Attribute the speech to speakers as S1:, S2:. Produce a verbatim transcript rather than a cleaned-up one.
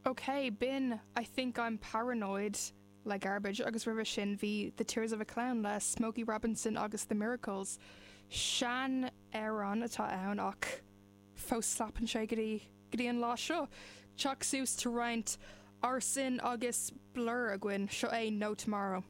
S1: Ok, b'in I Think I'm Paranoid le Garbage agus roimhe sin bhí The Tears of a Clown le Smokey Robinson agus The Miracles. Seanamhrán atá ann ach fós slapann sé go dtí go dtí an lá seo. Teach suas tá roinnt Arson agus Blur againn seo é No Tomorrow.